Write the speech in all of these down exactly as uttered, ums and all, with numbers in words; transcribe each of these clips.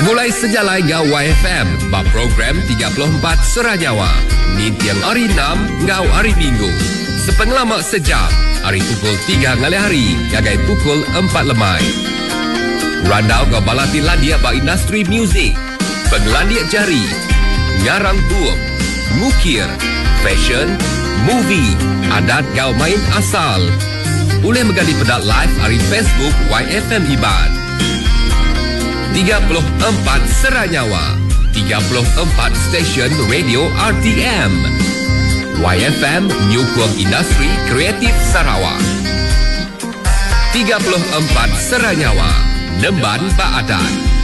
Segulai sejalai enggau Y F M ba program tiga puluh empat Sera Nyawa ninting hari enam enggau hari Minggu. Sepengelama sejam hari pukul tiga ngalih hari ngagai pukul empat lemai. Randau enggau bala ti landik ba industri muzik, pengelandik jari, ngarang bup, ngukir, fashion, movie, adat enggau main asal. Boleh mega dipeda live hari Facebook Y F M Iban. tiga puluh empat Sera Nyawa, tiga puluh empat stesen radio R T M. Y F M nyukung industri kreatif Sarawak. tiga puluh empat Sera Nyawa, Nemban Baadan.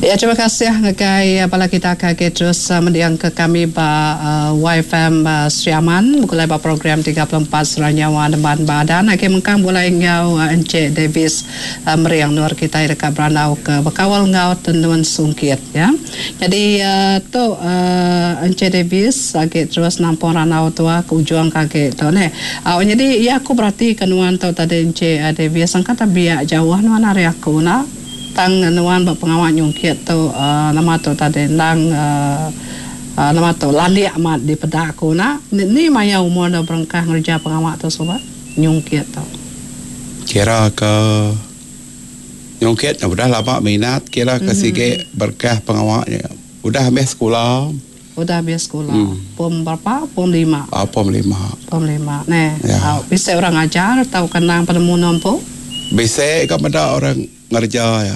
Ya, terima kasih ngagai bala kita ke terus mendiang ke kami ba uh, Y F M uh, Sri Aman mulai ba program tiga puluh empat Sera Nyawa Nemban Baadan. Agi mengkang mulai ngau uh, Encik Davis uh, Meriang Nur kita dekat Beranau ke bekawal ngau Tenun Sungkit ya. Jadi uh, tu uh, Encik Davis agi terus nampung ranau tua ke ujung kaki tu ne. Uh, jadi ya aku berarti kenuan tu tadi Encik uh, Davis angkat biak jauh nuan hari aku nak tang nuan ba pengawal nyungkit tu uh, nama tu tadi nang uh, uh, nama tu landik amat di peda aku nak ni, ni maya umur dah berengkah ngerja pengawal tu sobat nyungkit tu kira ke nyungkit udah lama minat kira ke mm-hmm. sige berkah pengawalnya udah habis sekolah udah habis sekolah hmm. Pom berapa pom lima ah, pom lima pom lima ne ya. Uh, bisa orang ajar atau kenang penemu nompo bisa ke pada orang ngerja ya.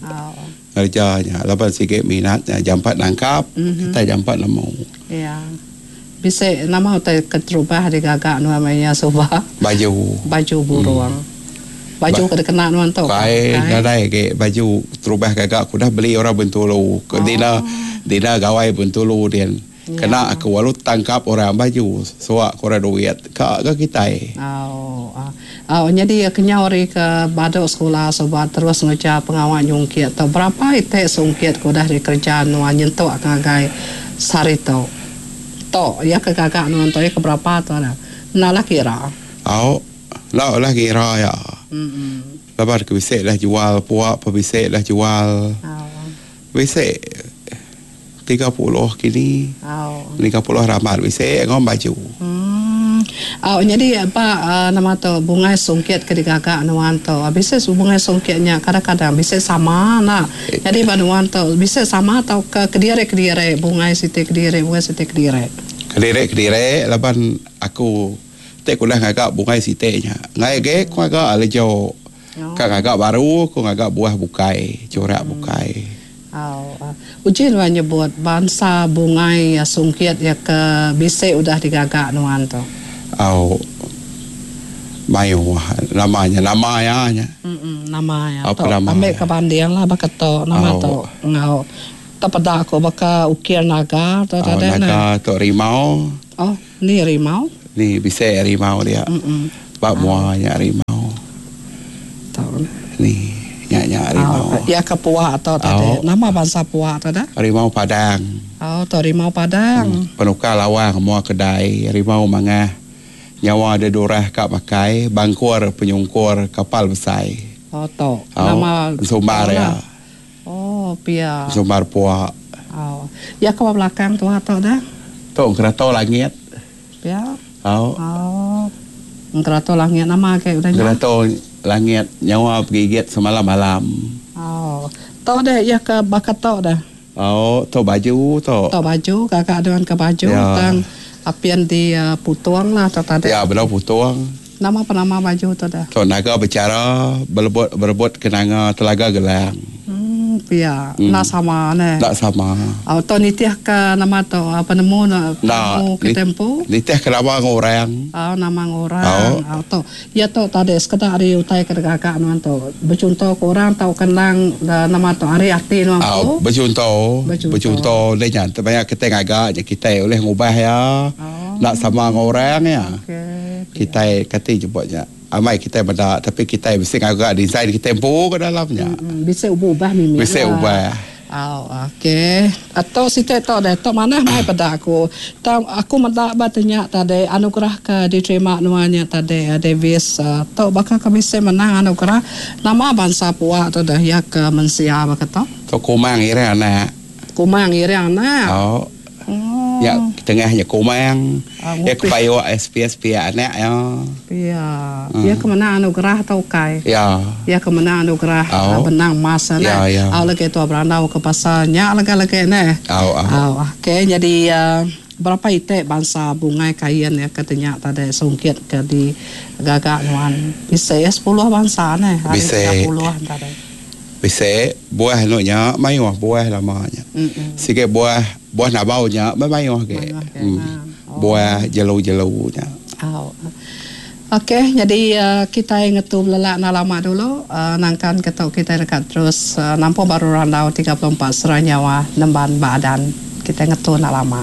Oh. Ngerjanya lapan sikit minatnya jampat nangkap mm-hmm. kita jampat nemu. Ya. Bisa nama utai keterubah digagak namanya subah. Baju. Baju burung. Hmm. Baju ba- kena kena nuan tu. Kai nadai ke baju terubah gagak aku dah beli orang Bentulu. Ke oh. Dina dina gawai Bentulu dia. Ya. Kena aku walu tangkap orang baju suak kurang duit ka ke kita. Oh. Oh, jadi kenyau hari ke baduk sekolah sobat terus ngejar pengawal nyungkit atau berapa itik sungkit ku dah dikerja nuan nyentuk ngagai sari tu. Tok ya ke gagak nuan tu ya ke berapa tu lah. Nalah kira. Oh, lah lah kira ya. Hmm. Lepas ke bisik lah jual puak, pebisik lah jual. Oh. Bisik tiga puluh kini. Oh. tiga puluh ramad bisik ngom baju. Hmm. Oh, jadi apa uh, nama tu bunga sungkit ke digagak nuan tu. Bisa bunga sungkitnya kadang-kadang bisa sama nak. Jadi nuan tu bisa sama atau ke kedire-kedire bunga siti kedire bunga siti kedire. Kedire-kedire laban aku tek kulah ngagak bunga siti nya. Ngai ge ku agak lejo. Oh. Ka ngagak baru ku ngagak buah bukai, corak hmm. bukai. Oh, uh, uji nuan nyebut bangsa bunga ya sungkit ya ke bisa udah digagak nuan tu. Oh, mayu namanya nama ya nya. Mm-mm, nama ya. Apa nama? Ambil ke banding lah baketo nama oh. tu. Ngau terpeda aku baka ukir naga tu oh, tadi naga tu rimau. Oh, ni rimau. Ni bisa rimau dia. Mm-mm. Bak muanya rimau. Tahu. Ni nya-nya rimau. Oh, ya ke puak atau tadi. Oh. Nama bangsa puak tu dah. Rimau Padang. Oh, tu rimau Padang. Hmm. Penukar lawang mua kedai rimau mangah. Nyawa ada dorah kak pakai bangkur penyungkur kapal besar. Oh tu. Oh, nama sumbar ya. Oh pia. Sumbar puak. Oh. Ya ke belakang tu atau dah? Tu kerato langit. Pia. Oh. Oh. Kerato langit nama ke udah. Kerato langit nyawa pergigit semalam malam. Oh. Tu dah ya ke bakat tu dah. Oh, tu baju tu. Tu baju kakak dengan ke baju ya. Tang apian di uh, putuang lah atau tadi. Ya, belau putuang. Nama penama baju tu dah. Tu naga bicara berebut berebut kenanga telaga gelang. Hmm, pia. Hmm. Nak sama ne. Tak sama. Oh, tu nitih ke nama tu penemu nak penemu ke tempo. Nitih ke nama orang. Oh, nama orang. Oh, oh tu. Ya tu tadi sekedar ari utai ke gagak nuan tu. Bercontoh ke orang tau kenang nama tu ari ati nuan tu. Oh, bercontoh. Bercontoh dia nya banyak kita ngagak je kita oleh ngubah ya. Oh. Nak sama dengan orang ya. Okey. Kita kata jemputnya. Amai kita benda tapi kita mesti ngagak design kita empu ke dalamnya. Hmm, bisa ubah mimi. Bisa ubah. Oh, okey. Atau siti tu deh, tu mana mai pada aku. Tang aku meda ba tanya tadi anugerah ke diterima nuannya tadi Davis tu bakal kami se menang anugerah nama bangsa puak tu dah ya ke mensia ba kata. Tu kumang ira anak. Kumang ira anak. Oh. Oh. Ya tengahnya kumang. Ah, ya kepayo S P S P anak ya. Ya. Hmm. Ya ke mana anugerah tau kai. Ya. Ya ke mana anugerah oh. Benang emas nah. Ya, ya. Au lagi tu berandau ke pasalnya lagi-lagi ne. Au au. Okey jadi uh, berapa itik bangsa bungai kain ya katanya tadi sungkit ke di gagak nuan. Bisa ya sepuluh bangsa ne. Bisa. sepuluh tadi. Bisa buah nunya mayuh buah lamanya. Mm-mm. Sikit buah buah nabau nya mayuh ke. Mm. Oh. Buah jelu-jelunya. Oh. Okey, jadi uh, kita ngetu lelak nak lama dulu uh, nangkan ketuk kita dekat terus uh, nampak baru randau tiga puluh empat Seranyawa Nemban Badan. Kita ngetu nak lama.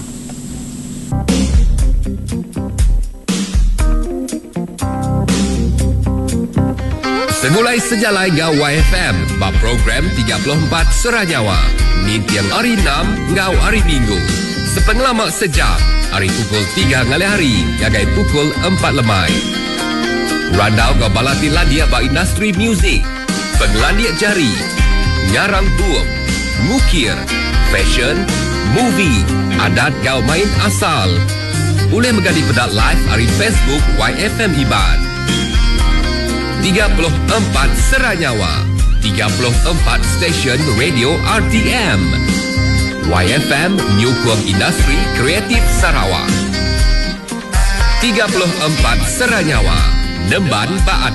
Segulai sejalai ngau Y F M bab program tiga puluh empat Seranyawa. Nintiang hari enam ngau hari Minggu. Sepengelama sejam, hari pukul tiga ngalih hari, gagai pukul empat lemai. Randau ngau balati landia ba industri muzik, penglandia jari, nyarang buum, ngukir, fashion, movie, adat gau main asal. Boleh menggali pedak live hari Facebook Y F M Iban. tiga puluh empat Seranyawa, tiga puluh empat stesen radio R T M. Y F M Nyukung Industri Kreatif Sarawak. tiga puluh empat Seranyawa, Nemban Baat.